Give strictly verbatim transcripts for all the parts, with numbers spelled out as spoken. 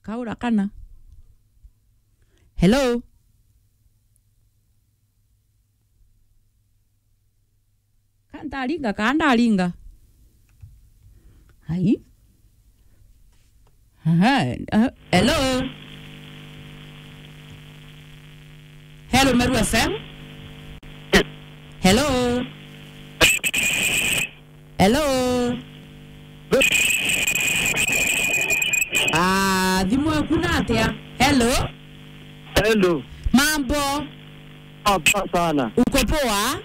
Kaura kana. Hello? Ka ntaringa, ka ndaringa? Ai. Aha, ah, hello? Hello, Meru F M? Hello? Hello? Ah, thimu eku na atia? Hello? Hello. Mambo? Ah, poa sana. Uko poa?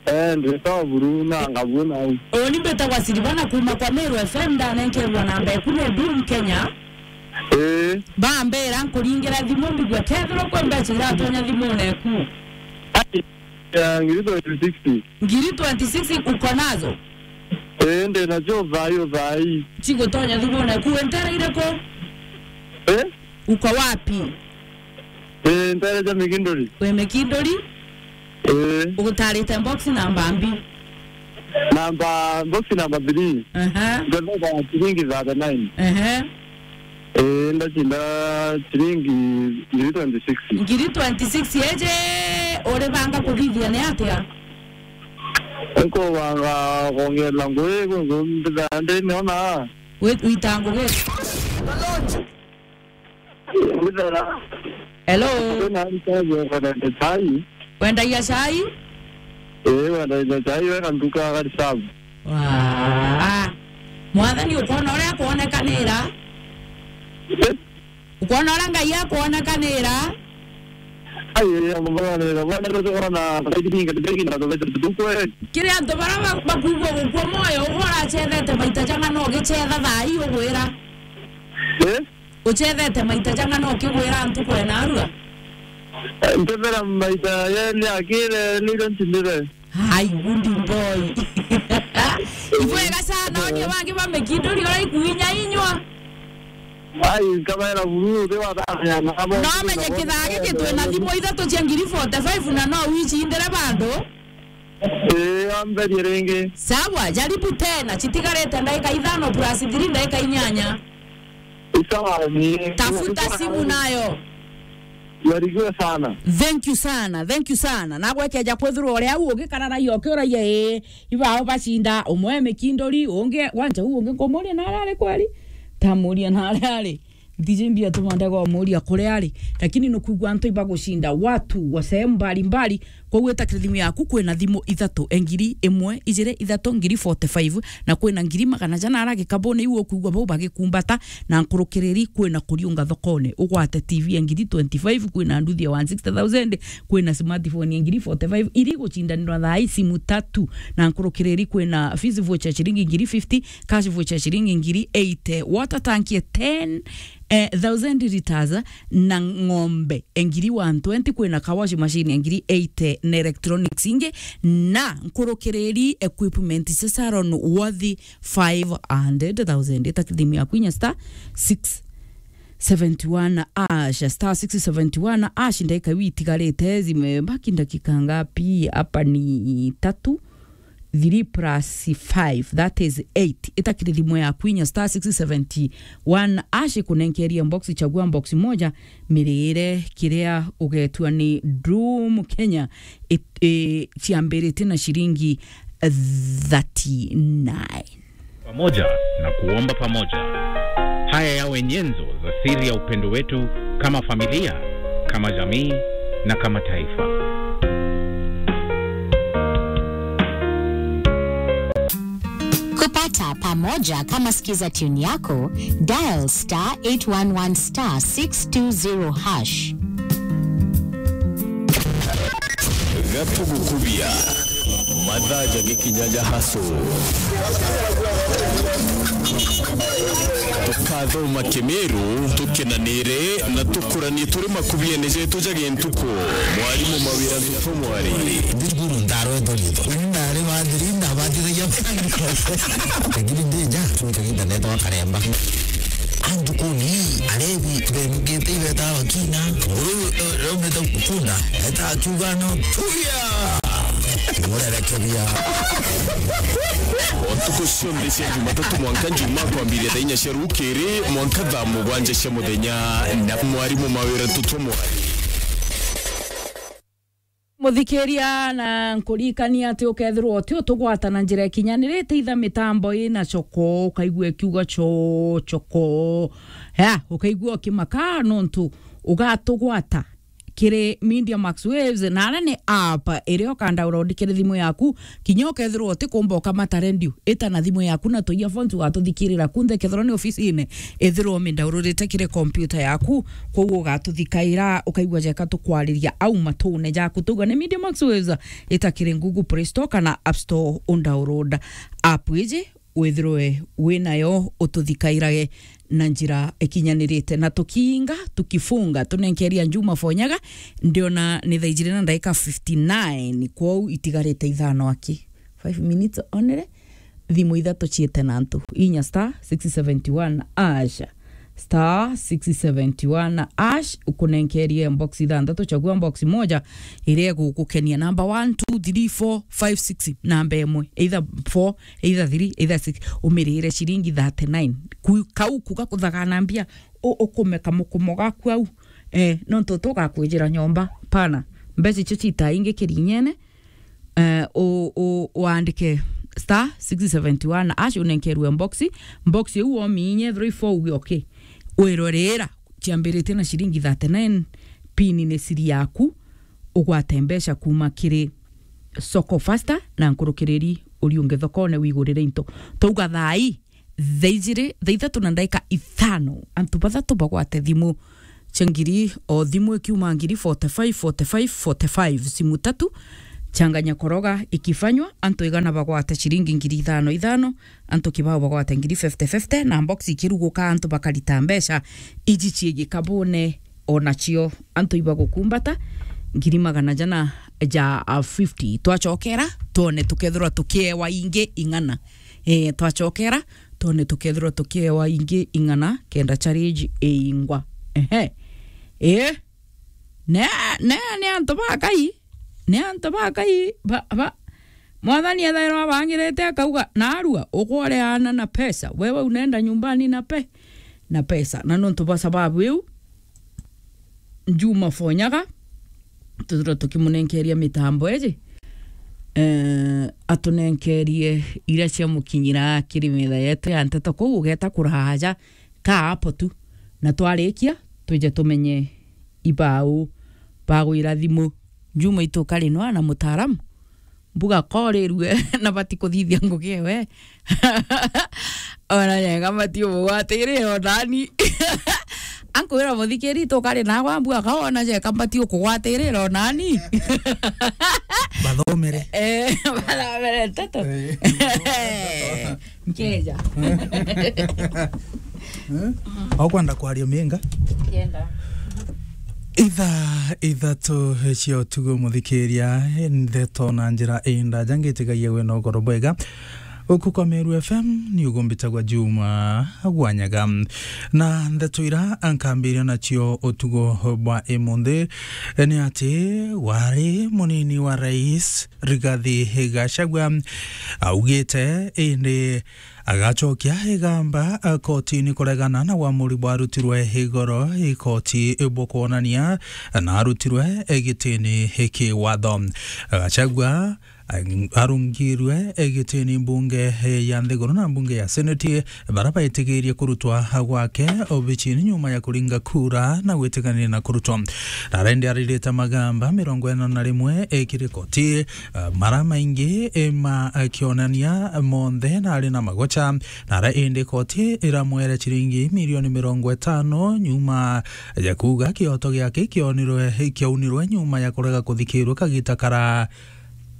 Eh, nditoa buru na ngabu na u. Uni mbitagwa Silvana kuma kwa Meru F M, ndanenkerwa namba eku ni Boom Kenya. Eh. Bambira nkuringira thimu mbigua kethirwa kwi mbeca iratonya thimune eku. Ai, ya, ngiri twenty-six. Ngiri twenty-six uko nazo? Eh, ndi nacio thaai, thaai. Cigutonya thimune eku, entereire ku? Eh? Uko wapi? Eh, ntereja Mikinduri. Wi Mikinduri? Eh. Ugutarite box namba mbi? Namba, box namba three. Aha. Ngetheka ciringi thirty-nine. Aha. Eh, ndacinda ciringi ngiri twenty-six. Ngiri twenty-six eje, uribanga kuthithia ni atia? Nkubanga kwongerera ngui, kwi ngui mbithaa ndiniona. Wi-, wita ngugi? Hello. Kwina ntabu ya kwenda chai. Wendagia chai? Eh, wendagia chai, weka nduka ya Garisabu. Waa. Mwathani, ukwona uria akwonekanira? Eh? Ukwona uria Ngai akwonekanira? Ai, ya mwana, mwana, mwana, na kaiti kinga, kaiti kinga, na tobete tutukwe. Kiri antu bara ba-, bakuigua gukua moyo, ugwe uracethete maita jang'ana ugicetha thaa ii ugwira? Eh? Uchethete maita jang'ana ukigwira antu kwena arua? Ntethera maita yeli akire niro ntindire. Ai, good boy. Ibwega sana, onie bangi ba Mikinduri uraikuinya inywa. Ai, nkabaera buru, uti wathania na abo. No menye kithaa giki twina thimu ithatu cia ngiri forty-five na no wicindire bandu. Ii, amberie ringi. Sawa, jaribu tena. Citigarite ndagika ithano plus three, ndagika inyanya. Isawa ni. Tafuta simu nayo. Barikiwe sana. Thank you sana, thank you sana. Nagwe keja kwithirwa uria u ugikararagia ukiuragia, ii, ibao bacinda, umwe Mikinduri, ungi, wanja u ungi nkumuria na aria ari kweri? Tamuria na aria ari. Ntiji mbia tuma ndega umuria kuria ari, lakini nukwigua antu ibagucinda watu wa sehemu mbalimbali. Kwou ita kiri thimu yaku, kwina thimu ithatu, e ngiri imwe, ijiri, ithatu, ngiri forty-five, na kwina ngiri magana jana ara gikabuni iu ukwigua bau bagikumbata, na nkurukiriri kwina kuriunga thokone. Ugwate T V ya ngiri twenty-five, kwina nduthi ya one sixty thousand, kwina smartphone ya ngiri forty-five, iri gucindanirwa thaa ii simu tatu, na nkurukiriri kwina fees voucher ciringi ngiri fifty, cash voucher ciringi ngiri eighty, water tank ya ten, eh, thousand liters, na ng'ombe e ngiri one twenty, kwina car wash machine e ngiri eighty, na electronics ingi, na nkurukiriri equipment cia salon worth five hundred thousand. Ita thimu yaku inya star six seventy one hash, star six seventy one hash, ndagika iu itigarite, zimebaki dakika ngapi? Hapa ni tatu. Three plus five, that is eight. Ita kiri thimu yaku inya star six seventy one hash, ikunenkeria box, chagua box moja, mirire kiria ugetua ni Doom Kenya, it-, i-, ciambirite na ciringi thirty-nine. Pamoja na kuomba pamoja. Haya yawe nyenzo za siri ya upendo wetu kama familia, kama jamii na kama taifa. Kupata pamoja kama sikiza tune yako, dial star eight one one star six two zero hash. Gatugukuria. Mathaa jagikinya ja hustle. Tukathoma Kimiru, tukenanire na tukuranie turi makubiene jetu ja gintuku. Mwarimu Mawira Ntutu Mwari. Ndi cukuru ndarwetwo riitwa. Nari wa thiri, ndabatithagia. Lakini ndi nja, cwita gita netwa Karemba. Antu kuni, arebi, bemugite ibeta bakina. Nguru, eh, raumite kunda, eta akiuga no, tuya! Urerekeria. Ntuku cionthe cia Jumatatu mwanka Njumaa kwambiria thaa inya cia rukiri mwanka thaa mugwanja cia muthenya na mwarimu mawira tutwa mwari. Muthikiria, na nkuririkania ati ukethirwa uti utugwata na njira ikinyanirite, itha mitambo ina choko, ukaigua ikiuga cho, choko. Ya, ukaigua ukimaka nontu ugatugwata kiri Media Max Waves, na aria ni app iria uka download kiri thimu yaku, kinya ukethirwa utikumba ukamata radio, ita na thimu yaku na tu earphones ugatuthikirira kunthe, kethirwa ni ofisine, ithirwa umidownloadite kiri computer yaku, koguo ugatuthikaira, ukaigua jeka tukwariria au matune jaku. Tuga ni Media Max Waves, ita kiri Google Play Store kana App Store, undownload app iji, withirwe winayo, ututhikairage na njira ikinyanirite. Na tukiinga, tukifunga, tunenkeria Njuma Fonyaga, ndiona ni thaa ijiri na ndaika fifty-nine, kwou itigarite ithano aki. Five minutes only. Thimu ithatu ciite na antu. Inya star six seventy one hash. Star six seventy one hash, ukunenkerie box ithanthatu, chagua box moja iria igugukenia. Number one, two, three, four, five, six, namba imwe. Either four, either three, either six. Umirire ciringi thirty-nine. Ku-, kau kuga kuthagana mbia, u-, ukumeka mukumo gaku au. Eh, nontu tugakwijira nyomba. Pana. Mbeca icio citaingi kirinyene. Eh, u-, u-, uandike star six seventy one hash, unenkerwe box. Box iu wominye three four uge okay. Wirwe rira, ciambiritie na ciringi thirty-nine, pin ni siri yaku, ugwate mbeca kuma kiri Soko Faster na nkurukiriri uriunge thokone wigurire into. Twauga thaa ii, thaa ijiri, thaa ithatu na ndaika ithano, antu bathatu bagwate thimu cia ngiri, o thimu ikiuma ngiri, forty-five, forty-five, forty-five, simu tatu, changanya koroga ikifanywa, antu igana bagwate ciringi ngiri ithano ithano, antu kibao bagwate ngiri fifty fifty, na box ikiruguka, antu bakarita mbeca iji cii gikabune, onacio antu ibagukumbata ngiri magana jana ja fifty. Twachokera, twone tukethirwa tukiewa ingi ing'ana. Eh, twachokera, twone tukethirwa tukiewa ingi ing'ana, kenda challenge iingwa. Ehe. Eh. Ne, ne, ni antu ba Ngai. Ni antu ba Ngai, ba, ba. Mwathani ethairwa abangirite akauga, "Narua, ukoreana na pesa. Wewe unaenda nyumbani na pe-, na pesa." Na nontu bwa sababu iu, Njuma Fonyaga, tuthirwa tukimunenkeria mitambo iji, eh, atunenkerie iria ciamukinyira kiri metha yetu ya nteto kuu ugeta kuraja ka hapo tu. Na twarikia, twije tumenye ibau bagwira thimu. Njuma itu kari nwa na mutaaramu. Mbuga korirue na batikuthithia ngugi ewe. Ona yega mati umugwatire onani. Ankwira muthikiri tukari nagwa mbuga kaona jeka mbati ukugwatire onani. Bathomere. Eh, bathomere nteto. Eh. Nkeja. Eh? Okwenda kwaria minga? Ndienda. Ithaa ithatu cia utugo, muthikiria, ndeto na njira indaja, ngitigagia wina ugoro bwega. Uku kwa Meru F M ni ugumbitagwa Juma Gwanyaga. Na ndeto ira nkambiria nacio utugo bwa imunthi ni ati wari munini wa rais Rigathi Gachagua augite indi agacokia igamba kotini kuregana na wamuri bwarutirwe igoro i koti bwa kwonania na arutirwe gitini ki watho. Gachagua arungirwe gitini mbunge ya nthiguru na mbunge ya seneti, bara baitigirie kurutwa gwake obicini nyuma ya kuringa kura na gwitikania na kurutwa. Nara indi aririte magamba mirongo ina na rimwe ekiri koti, eh, mara maingi, eh, ma, eh, kionania monthe na ari na magocha, nara indi koti iramwere ciringi milioni mirongo itano nyuma ya kuuga kioto giake kionirwe, kiaunirwe nyuma ya kurega kuthikirwe kagita kara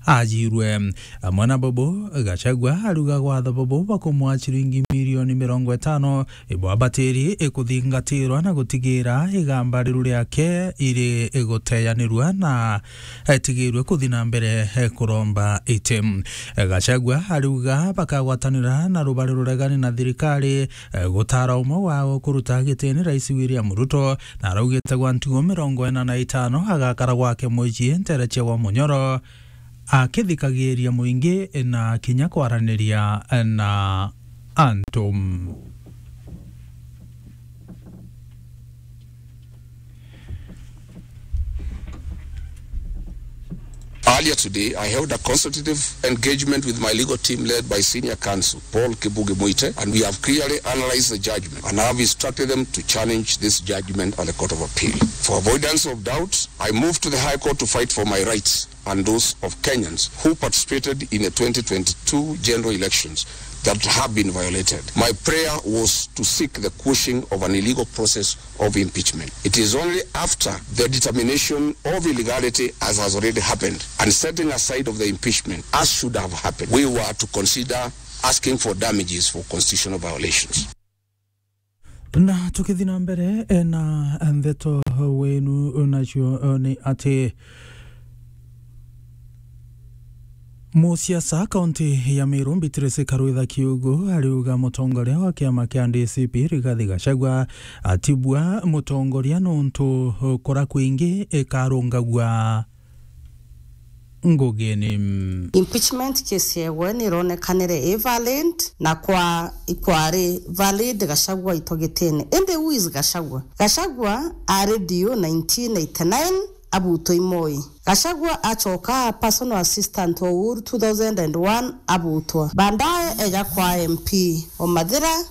ajirwe. Amwe na bubu, Gachagua aruga gwatho bubu bakumwa ciringi milioni mirongo itano ibwabatiri ikuthingatirwa na gutigira igamba riru riake iri iguteyanirwa na etigirwe kuthi na mbere kuromba iti. Gachagua ariuga bakagwatanira na rubari ruregani na thirikari gutara umwe wao kuruta gitini Rais William Ruto, na araugite gwa ntugo mirongo ina na itano agakara gwake mucii ntere cia gwa Munyoro. akithikagiria muingi na kinya kwaraniria na antu. Earlier today, I held a consultative engagement with my legal team led by senior counsel Paul Kibugi Muite, and we have clearly analyzed the judgment and have instructed them to challenge this judgment at the Court of Appeal. For avoidance of doubt, I moved to the High Court to fight for my rights and those of Kenyans who participated in the twenty twenty-two general elections that have been violated. My prayer was to seek the quashing of an illegal process of impeachment. It is only after the determination of illegality, as has already happened, and setting aside of the impeachment, as should have happened, we were to consider asking for damages for constitutional violations. Na tukithi na mbere, eh, na ndeto wenu nacio, eh, ni ati musiasa kaunti ya Meru Beatrice Karwitha Kiugu ariuga mutongoria wa kiama kia D C P Rigathi Gachagua atibua mutongoria nontu kura kwingi ikarungagua ngugini. Impeachment case yewe nironekanire i valid na kwa ikwari valid Gachagua itogitene. Indi who is Gachagua? Gachagua ari D O nineteen eighty-nine abutwa i Moi. Gachagua acoka a personal assistant wa Uhuru two thousand and one abutwa. Baadaye eja kwa M P o Mathira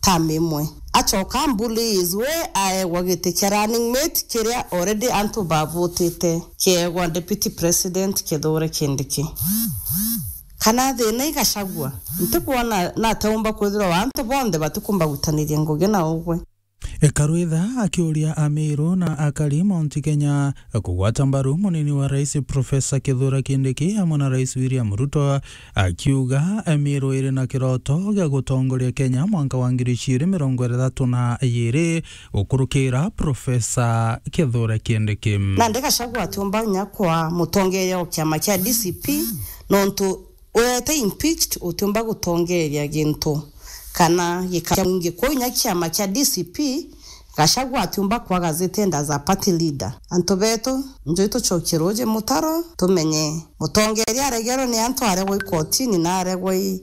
term imwe. Acoka bully his way aegwa giti kia running mate kiria already antu bavutite kiegwa Deputy President Kithure Kindiki. Kana thina i Gachagua? Ntikwona na ataumba kwithirwa antu bonthe batikumba gwitaniria ngugi na ugwe. Karwitha akiuria Amiru na akari Mount Kenya kugwata mbaru munini wa rais Professor Kithure Kindiki amwe na rais William Ruto, akiuga Amiru iri na kiroto gia gutongoria Kenya mwanka wa ngiri ciiri mirongo ithatu na iiri gukurukira Professor Kithure Kindiki. Nandi Gachagua atiumba nya kwa mutongeria wa kiama kia D C P nontu urete impeached utiumba gutongeria gintu kana gikara mwingi. Kwou inya kiama kia D C P, Gachagua atiumba kwaga zitenda za party leader. Antu betu, njui tucokie ruuji mutaro, tumenye mutongeria aregerwe ni antu aregwa i kotini na aregwa i,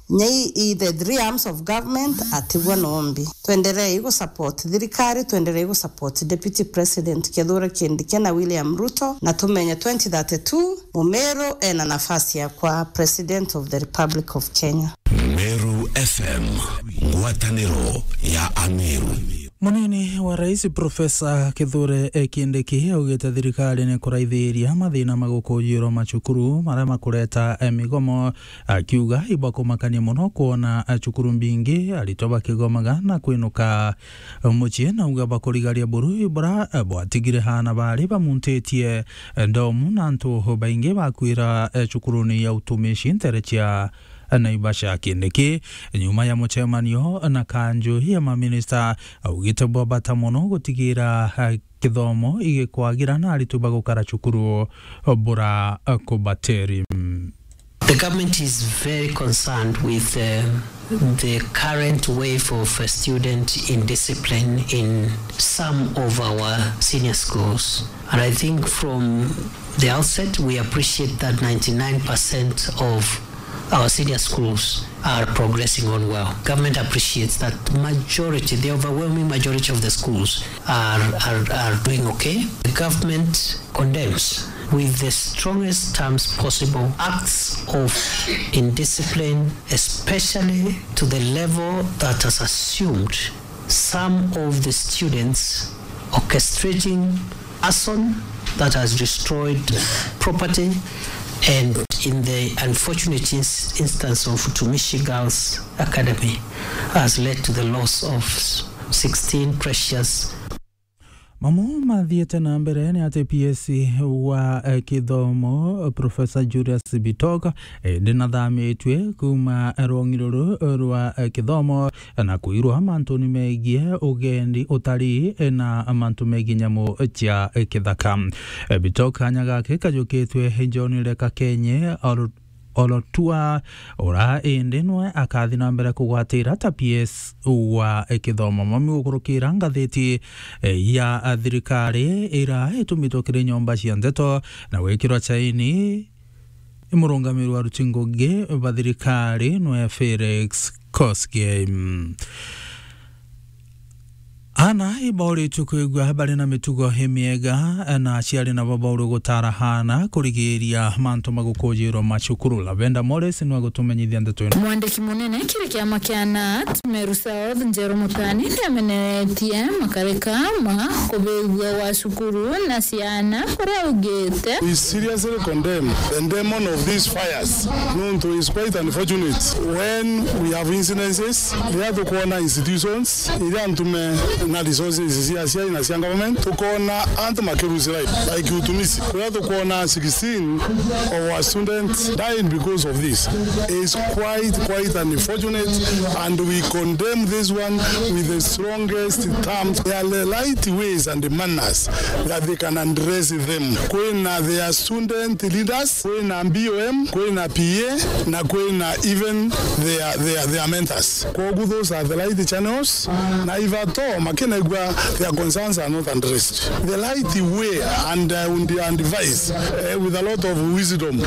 inya i, i the three arms of government, atigwa nombi. Twenderei gu support thirikari, twenderei gu support Deputy President Kithure Kindiki na William Ruto, na tumenye twenty thirty-two, Mumiru ena nafasi ya kwa President of the Republic of Kenya. Meru F M, ngwataniro ya Ameru. Munini wa rais Professor Kithure Kindiki augite thirikari ni kuraithiria mathina ma gukujirwa macukuru maria makureta, eh, migomo, akiuga ibakumakania muno kwona, eh, cukuru mbingi aritwa bakigomaga na kwinuka mucii. Nauga bakurigaria buru bura, eh, bwatigire haana bari bamuntitie, eh, ndomu na antu baingi bakwira, eh, cukuruni ya utumishi ntere cia Naivasha. Kindiki, nyuma ya mucemanio na kanju ya maminista, augite bwa bata muno gutigira, eh, kithomo igikwagira na aritwi bagukara cukuru bura kubateri. The government is very concerned with, uh, the current wave of, uh, student indiscipline in some of our senior schools. And I think from the outset, we appreciate that ninety-nine percent of our senior schools are progressing on well. Government appreciates that majority, the overwhelming majority of the schools are, are, are doing okay. The government condemns with the strongest terms possible acts of indiscipline, especially to the level that has assumed some of the students orchestrating arson that has destroyed property, and in the unfortunate ins-, instance of Utumishi Girls Academy, has led to the loss of sixteen precious. Mamwe mathiite na mbere ni ati P S wa, eh, kithomo, Professor Julius Bitok, eh, ndinathamitue kuuma rwong'i ruru rwa, eh, kithomo na kwirwa mantuni megie ugendi, utari, na mantu megie nyamu cia kithaka. Bitok kanya gake kajukitwe John Leka Kenye Ol-, Olotua, ura indi nwe akathi na mbere kugwatira ta P S wa kithomo. Mami gukurukira ngathiti ya thirikari ira itumitwe kiri nyomba cia ndeto na gwikirwa chaini Murungamiri wa aruti ngugi ba thirikari nwe Felix Koskei. Ana ibauritwe kwigua bari na mitugo imiega, na aciari nabo baurwe gutara ana kurigiria mantu ma gukujirwa macukuru. Lavenda Morris nwe agutumenyithia ndeto ino. Mwandiki munene kiri kiama kia nat Meru South, Njeru Mutani, niameneretie makarika ma kubigua gwa cukuru na ciana, kuria augite, We seriously condemn the demon of these fires. Nontu is quite unfortunate when we have incidences, riria tukwona institutions iria ntume na resources cia aciari na cia government, tukona antu makirusi life, like Utumisi, kuria tukwona sixteen of our students died because of this. Is quite, quite unfortunate, and we condemn this one with the strongest terms. There are the right ways and the manners that they can address them. Kwina their student leaders, kwina B O M, kwina P A, na kwina even their, their, their mentors. Kogu those are the right channels, na if at all makinegua, their concerns are not addressed the right way, and I would advise, eh, with a lot of wisdom,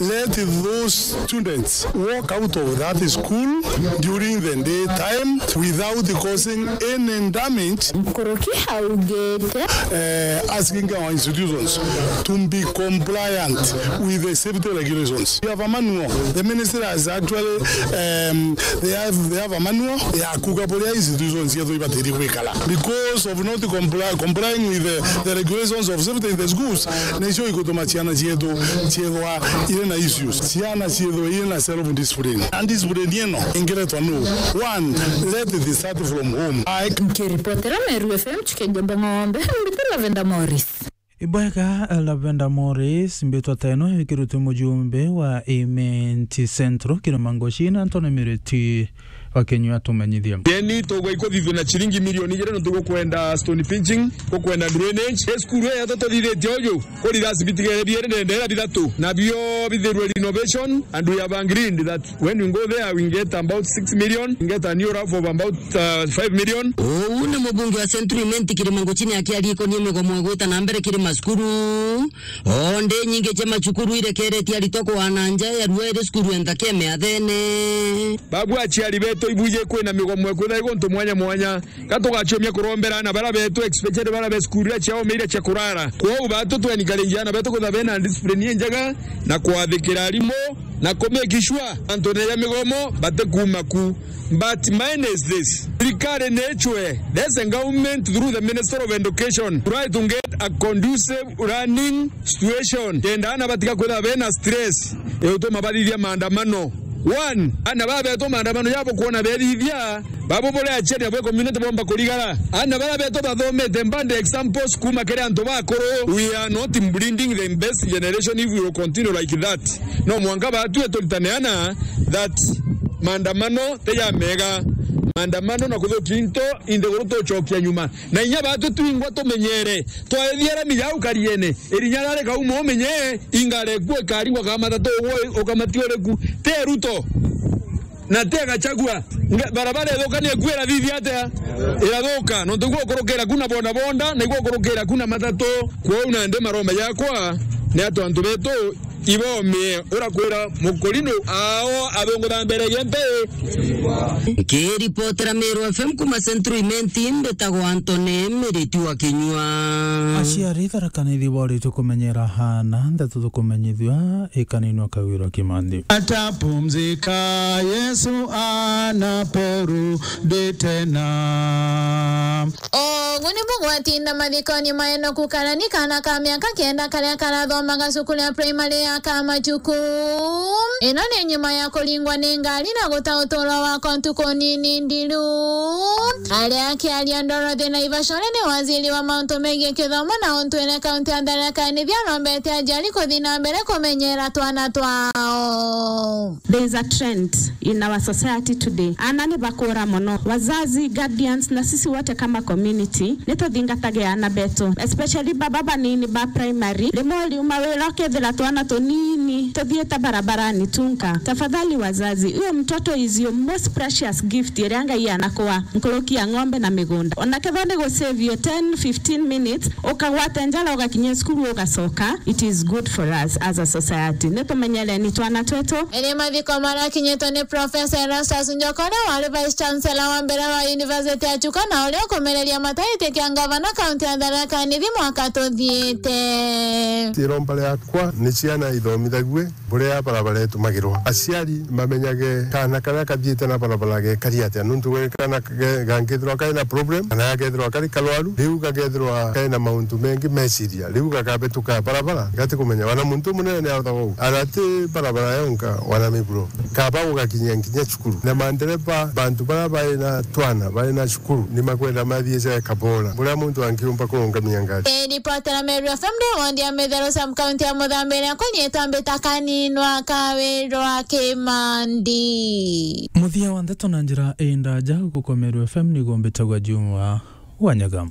let those students walk out of that school during the day time without causing any damage. Nkuruki augite, eh, asking our institutions to be compliant with the safety regulations. We have a manual. The ministry has actually, um, they have, they have a manual ya kuga buria institutions cietu ibatirie gwikara. Because of not comply, complying with the, the regulations of safety in the schools, nicio igutuma ciana cietu ciethwa iri na issues. Ciana ciethwa iri na self discipline. And discipline ino ingiretwa nu? One, let it start from home. I Nkiripotera Meru F M, Chikeja Bang'ombe, mbitira Lavenda Morris. Ibwega, Lavenda Morris, mbitwa teno ikirutwe mujumbe wa Imenti Central, Kirima Ngochina, Anthony Miriti wa Kinyua tumenyithie. Yeni tugwa ikuthithua na chiringi milioni ijiri, no tugukwenda stone pinching, gukwenda drainage. Esukuru ya toto thithitie uju, kuri rasibiti gere biere ndendera bithatu, na bio bithirwe renovation, and we have agreed that when we go there, we get about six million, we get a new rough of about, uh, five million. Uu ni mubunge wa Central Imenti Kirima Ngochini akiaria ikonie migomo igwita na mbere kiri macukuru. O ndi nyingi cia macukuru irekeretie aritwa kwana nja ya rua iri cukuru enta kia miathene. Babu aciari betu ibuje kwina migomo ikwitha iguntu mwanya mwanya. Ka tugaciumia kurombera aana baria betu, especially baria be cukuru iria ciaomeire cia kurara. Kwou batu twencourage aana betu kwithirwa bena discipline injega na kwathikira arimu na ku make sure antu neja migomo batikuma ku. But mine is this. Thirikari ni ichwe, there's a government through the Minister of Education, try to get a conducive learning situation. Kenda aana batiga kwithirwa bena stress, igutuma bathithia maandamano. One, aana baria betu maandamano jabo kwona bethithia, babo bore aciari nabo community bomba kurigara. Aana baria betu bathomete mbande examples kuma kiri antu bakuru. We are not breeding the best generation if we will continue like that. No mwanka batue turitane aana that maandamano ti ja mega. Maandamano na kuthukia into, inthiguru tucokia nyuma. Na inya batwe twingwa tumenyere, twaethia rami jau kariene, irinya rari kauma umenye, ingare kuo ikaringwa ka matatu ugwe ukamati uriku. Te Ruto, na te Gachagua. Nga-, barabara ithuka ni ikuo irathithia atia? Irathuka. Nontu igwo ukurukira ku na boda boda, na igwo ukurukira ku na matatu. Kwou nandi maromba jakwa, ni atu antu betu, ibomie, urakwira mukurino ao athungutha mbere gia mpe. Nkiripotera Meru F M kuma Central Imenti, mbitagwa Anthony Miriti wa Kinyua. Aciari Tharaka Nithi boritwe kumenyera haana ndeto tukumenyithua ikaninwa Kawira Kimanthi. Atapumzika Yesu anaporudi tena. Ogu nibu gwatinda mathikoni ma Enoku Karani, kaana ka miaka kenda karia karathomaga cukuru ya primary ya Kamachuku. Ino ni nyuma ya kuringwa ni ngari na guta uturo wakwa ntuku nini nthiru. Aria akiaria Dorothy Naivashore ni waziri wa mauntu megii kithomo na untwire kaunti ya Tharaka Nithi, arombete aciari kuthi na mbere kumenyera twana twao. There is a trend in our society today. Aana ni bakura mono. Wazazi, guardians, na sisi wote kama community, ni Thingatage ana betu, especially baba banini ba primary. Rimwe uriuma wira ukethira twana tunini tuthiite barabarani tunka. Tafadhali wazazi, huyo mtoto is your most precious gift iria Ngai anakwa, nkuruki ya ng'ombe na migunda. Ona kethira ni gusave you ten, fifteen minutes, ukagwate njara ugakinya cukuru ugacoka, it is good for us as a society. Nitumenyereni twana twetu. Iri mathiko marakinyitwe ni Professor Erastus Njoka, uria wari Vice Chancellor wa mbere wa University ya Chuka, na uria ukumereria mataiti kia ngavana kaunti ya Tharaka Nithi mwaka tuthiite. Iromba riakwa ni ciana ithomithagwe buria barabara itumagirwa. Aciari mamenyage kaana karia kathiite na barabara gekari atia, nontu gwe kaana ge-, gangithirwa kari na problem, kana gakethirwa kari karwaru, riu gakethirwa kari na mauntu mengi meciria, riu gakabetuka barabara, gatikumenya. Wana muntu munene ni arothaga uu, ana ti barabara yonka, wana miburo. Kaba gugakinyia nginya cukuru. Na mandereba, bantu baria bari na twana, bari na cukuru, ni makwenda mathiice kabora, buria muntu angiumba kurungamia ngari. Ii ripoti ya Meru F M ndi wodi ya Mitheru, sub county ya Muthambiria, kunyitwa mbita kaninwa ka Wirwa Kimandi. Muthia wa ndeto na njira indaja, guku kwa Meru F M niguo mbitagwa Juma Wanyaga.